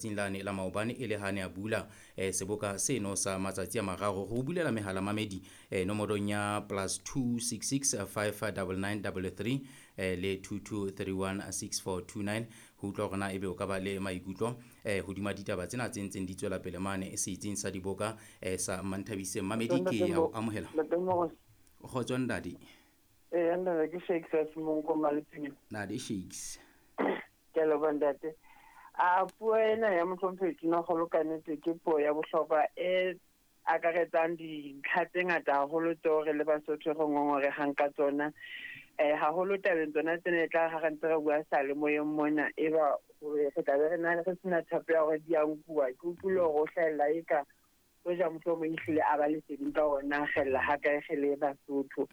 Letsatsing lane la maobane e le ha ne a bula seboka seno sa matsatsi a mararo. Re o bulela mehala mamedi nomorong ya plus 266 599 33 le 2231 6429 ho utlwa hore na ebe o ka ba le maikutlo hodima ditaba tsena tse ntseng di tswela pele mane setsing sa diboka sa Manthabiseng. Mamedi, ke ya o amohela. Kgotso ntate. Ee, ntate, ke Shakes a Semonko Maletseng. Ntate Shakes. Ke a leboha, ntate. A puo ena ya mohlomphehi Tonakgolo ka nnete ke puo ya bohlokwa e akaretsang dintlha tse ngata haholo tseo re le Basotho re ngongorehang ka tsona. Haholo tabeng tsona tsena e tla ha re ntse re bua salemoyeng mona, eba re tla be re na re sena tshepo ya hore di a nkuwa. Ke utlwile hore o hlahella eka hoja mohlomong ehlile a ba leseding ka hore na kgella ha kae re le Basotho.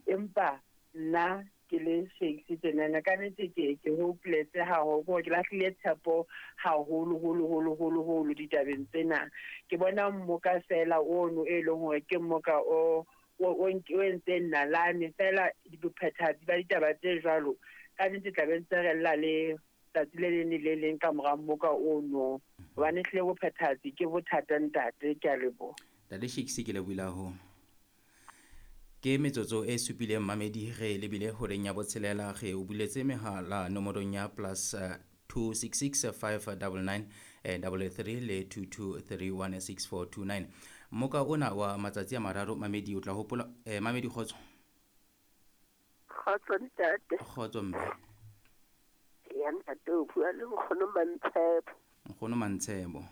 Empa nna ke le Shakes tjenana, ka nnete ke hopeletse haholo, ke hore ke lahlile tshepo haholo holo holo holo holo ditabeng tsena. Ke bona mmoka fela ono e leng hore ke mmoka o entseng nalane fela bophethahatsi ba ditaba tse jwalo. Ka nnete tla be ntse re lla le tsatsi le leng le le leng ka mora mmoka ono, hobane ehlile bophethahatsi ke bothata ntate. Ke a leboha. Ntate Shakes, ke lebohile haholo. Ke metsotso e supileng mamedi re lebile horeng ya botshelela. Re o buletse mehala nomorong ya plus 266 599 33 le 2231 6429. Mmoka ona wa matsatsi a mararo mamedi o tla hopola mamedi kgotso. Kgotso ntate. Kgotso mme. Ya ntate, o bua le nkgono Mantshebo. Nkgono Mantshebo.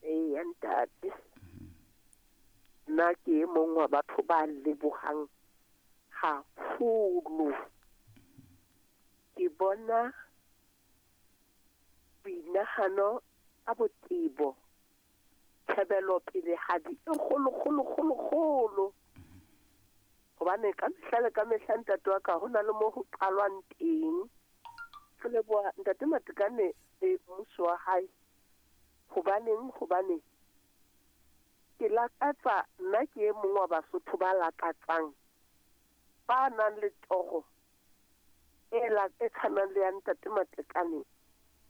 Ee ntate. Nna ke e mong wa batho ba lebohang haholo. Ke bona boinahano ka botebo, tjhebelopele hadi e kgolo kgolo kgolo kgolo. Hobane ka mehla le ka mehla ntate wa ka ho na le mo ho qalwang teng. Re leboha ntate Matekane le mmuso wa hae. Hobaneng? Hobane ke lakatsa, nna ke e mong wa Basotho ba lakatsang, ba nang le toro e tshwanang le ya ntate Matekane,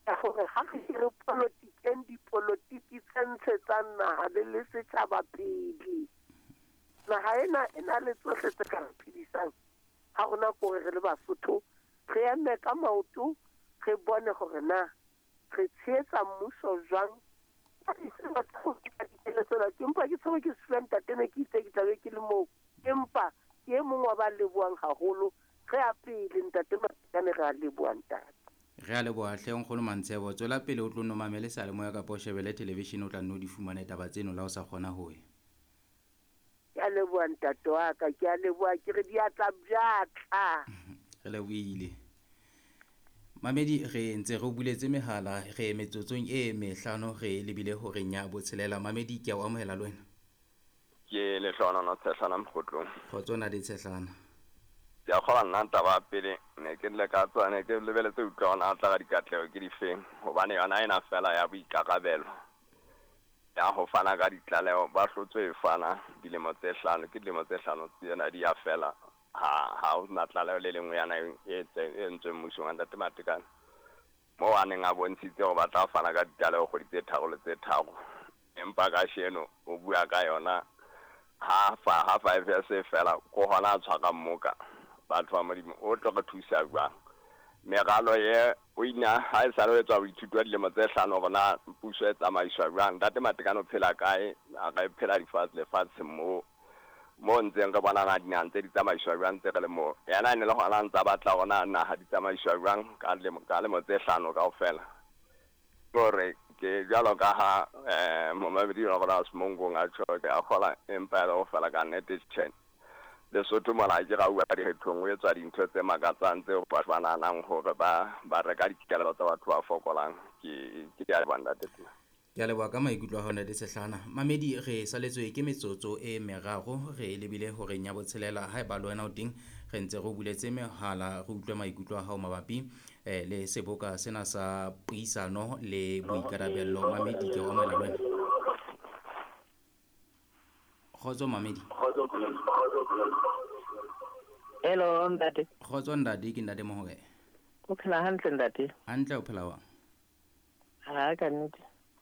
ya hore ha re re polotikeng, dipolotiki tse ntshetsang naha le setjhaba pele. Naha ena e na le tsohle tse ka re phedisang. Ha rona ke hore re le Basotho re eme ka maoto, re bone hore na re tshehetsa mmuso jwang. Ke empa ke tshwerwe ke sefuba ntate, ne ke itse ke tla be ke le moo, empa ke e mong wa ba lebohang haholo. Re a pele ntate Matekane, re a leboha ntate. Re a leboha hle nkgono Mantshebo. Tswela pele o tlo no mamele seyalemoya kapa o shebele television, o tla nno di fumane taba tseno la o sa kgona ho ya. Ke a leboha ntate wa ka, ke a leboha, ke re diatla bjatla. Re lebohile. Mamedi, re ntse re o buletse mehala, re metsotsong e mehlano re lebile horeng ya botshelela. Mamedi, ke a o amohela le wena. Ke Lehlohonolo Tshehlana Mokgotlong. Kgotso na le Tshehlana. Ke a kgolwa nna taba ya pele ne ke le ka tswa, ne ke lebeletse utlwa hore na tla ka dikatleho ke difeng, hobane yona ena fela ya boikarabelo ya ho fana ka ditlaleho ba hlotswe e fana dilemo tse hlano, ke dilemo tse hlano tsena di ya fela. Ha ho na tlaleho le lengwe yana e entsweng mmusong wa ntate Matekane, moo a neng a bontshitse hore ba tla fana ka ditlaleho kgwedi tse tharo le tse tharo, empa kasheno o bua ka yona ha 5 years e fela, ko hona a tshwara mmoka. Batho ba Modimo, o tlo re thusa jwang? Meralo ye o ina ha e sale ho etswa boithuto wa dilemo tse hlano hore na puso e tsamaiswa jwang. Ntate Matekane o phela kae? A re phela lefatshe moo mo ntseng re bona na dinaha tse di tsamaiswa jwang tse re le moo. Yena e ne le hona a ntsa batla hore na naha di tsamaiswa jwang ka lemo tse hlano kaofela. Ke hore ke jwalo ka ha momamedi wa rona Semongong a tjho, ke a kgola, empa e le ho fela ka nnete tjhe. Lesotho mona ke ra bua dikgethong, ho etswa dintho tse makatsang tseo batho ba nahanang hore ba reka dikelello tsa batho ba fokolang. Ke a leboha ntate Tuna. Ke a leboha ka maikutlo a hao ntate Sehlana. Mamedi, re saletswe ke metsotso e meraro, re lebile horeng ya botshelela. Haeba le wena o teng, re ntse re o buletse mehala, re utlwe maikutlo a hao mabapi le seboka sena sa puisano le boikarabello. Mamedi, ke o amohela le wena. Kgotso mamedi. Hello ntate. Kgotso ntate, ke ntate Mohoke. O phela hantle ntate? Hantle, o phela jwang? Ha ka nnete.